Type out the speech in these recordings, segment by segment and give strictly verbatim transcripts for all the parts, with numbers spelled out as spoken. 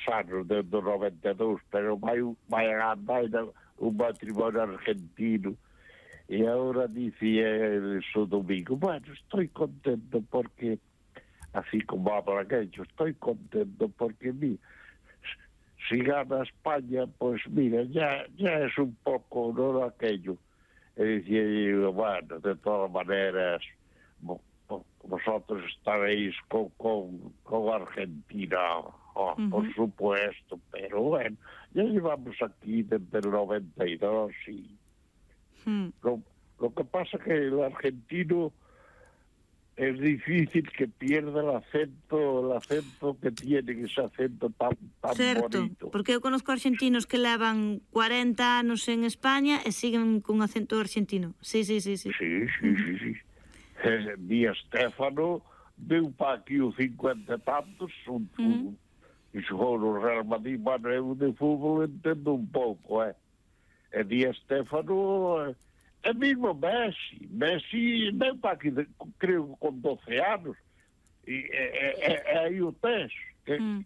anos, desde o noventa e dous, pero vai, vai a andar un matrimonio argentino. E agora dicía el o domingo, bueno, estoy contento porque, así como habla aquello, estoy contento porque, mira, si gana España, pues mira, ya, ya es un poco, no aquello. Y decía, bueno, de todas maneras, vosotros estaréis con, con, con Argentina, oh, uh-huh. Por supuesto, pero bueno, ya llevamos aquí desde el noventa y dos y uh-huh. lo, lo que pasa que el argentino es difícil que pierda el acento, el acento que tiene, ese acento tan, tan certo, bonito. Porque eu conozco argentinos que levan cuarenta anos en España e siguen con acento argentino. Sí, sí, sí, sí. Sí, sí, uh-huh. sí, sí. Eh, Di Stéfano deu para aquí os cincuenta e tantos, un, uh-huh. un, e xogou no Real Madrid, bueno, eu de fútbol entendo un pouco, eh. E Di Stéfano... É mesmo Messi. Messi vem para aqui, creio, com doce anos. E é, é, é aí o teste. Mm.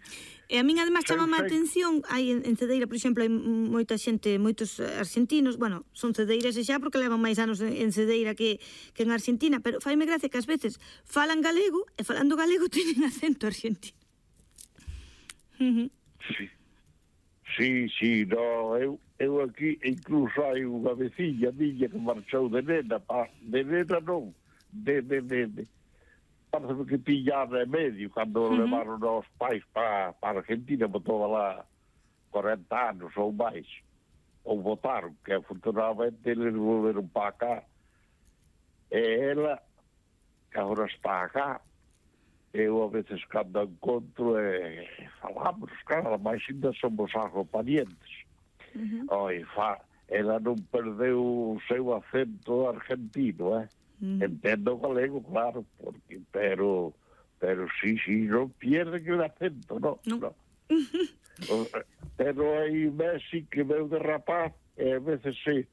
E a min además chamame a atención, hai en, en Cedeira, por exemplo, hai moita xente, moitos argentinos, bueno, son cedeiras e xa porque levan máis anos en Cedeira que, que en Argentina, pero faime gracia que ás veces falan galego e falando galego teñen acento argentino. Sí, sí, sí, no, eu, eu aquí incluso hai unha veciña miña que marchou de nena, pa, de nena non, de, de, de, de parece que tiña de medio cando uh-huh. levaron os pais para pa Argentina, botou lá cuarenta anos ou máis, ou votaron, que afortunadamente eles volveron para cá, e ela, que agora está cá, eu a veces cando encontro e falamos, claro, mas ainda somos algo parientes. Uh-huh. Oi, fa, ela non perdeu o seu acento argentino, eh? Uh-huh. Entendo galego, claro, porque, pero, pero sí, sí, non pierde que o acento, no, no. no. Uh-huh. Pero hai Messi que veu de rapaz e a veces se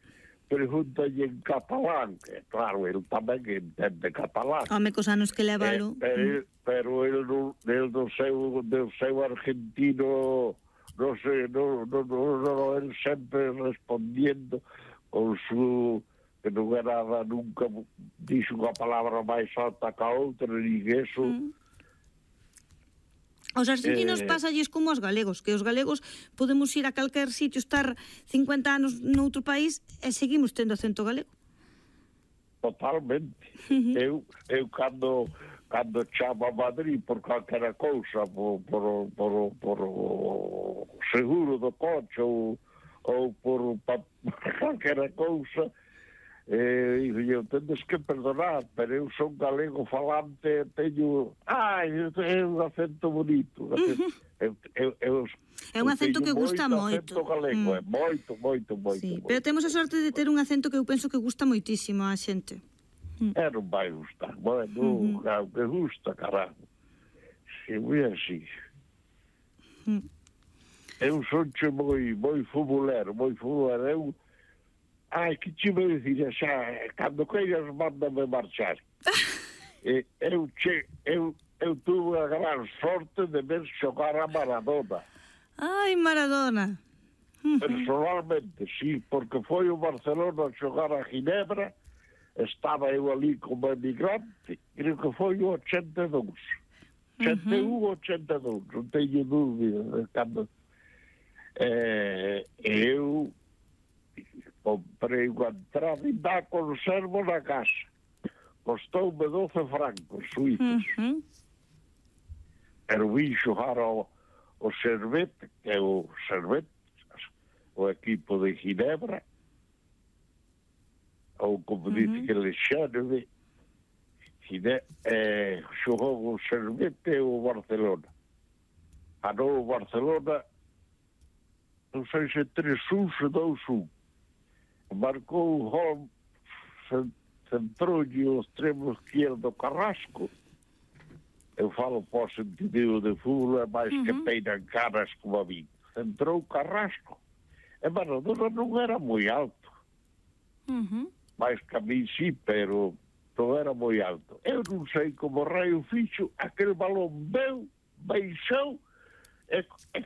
pregúntalle en catalán, que claro, ele tamén entende catalán. Home, cos anos que levalo. Eh, pero, mm. pero ele, ele do seu, do seu argentino, non sei, no, no, no, no, ele sempre respondiendo con su, que non era nunca, dixo unha palabra máis alta que a outra, nin eso. Mm. Os argentinos eh... pasalles como os galegos, que os galegos podemos ir a calquer sitio, estar cincuenta anos noutro país e seguimos tendo acento galego. Totalmente. Uh-huh. Eu, eu cando, cando chamo a Madrid por calquera cousa, por, por, por, por o seguro do coche ou, ou por, por calquera cousa, Eh, eu tendes que perdonar, pero eu son galego falante, teño, ai, é un acento bonito, acento, eu, eu, eu, é un acento que gusta moito, acento galego, mm. é moito, moito, moito, sí, moito. Pero temos a sorte de ter un acento que eu penso que gusta moitísimo a xente. Mm. É, non vai gustar, bueno, mm-hmm. claro que gusta, caralho, si, moi así. Mm. Eu sonche moi, moi futbolero, moi futbolero, eu ai, que te vou dizer, xa, cando queiras manda-me marchar. e, eu, che, eu, eu tuve a gran sorte de ver xogar a Maradona. Ai, Maradona. Personalmente, sí, porque foi o Barcelona a xogar a Ginebra, estaba eu ali como emigrante, creo que foi o ochenta e dous. ochenta e un, ochenta e dous, non teño dúbida de cando... Eh, eu... comprei unha entrada e dá conservo na casa. Costoume doce francos suíços. Uh-huh. Pero vim xogar ao, ao Servette, que é o Servette, o equipo de Ginebra, ou como uh-huh. dice que le chame, eh, xogou o Servette e o Barcelona. Ganou o Barcelona, non sei se tres un, se dous un. Marcou o gol, centroulle o extremo izquierdo Carrasco. Eu falo por sentido de fútbol, é máis uh-huh. que peinan caras como a mí. Centrou Carrasco. E Maradona non era moi alto. Uh-huh. Mais que a mí sí, pero non era moi alto. Eu non sei como raio fixo, aquel balón veu, baixou, e, e,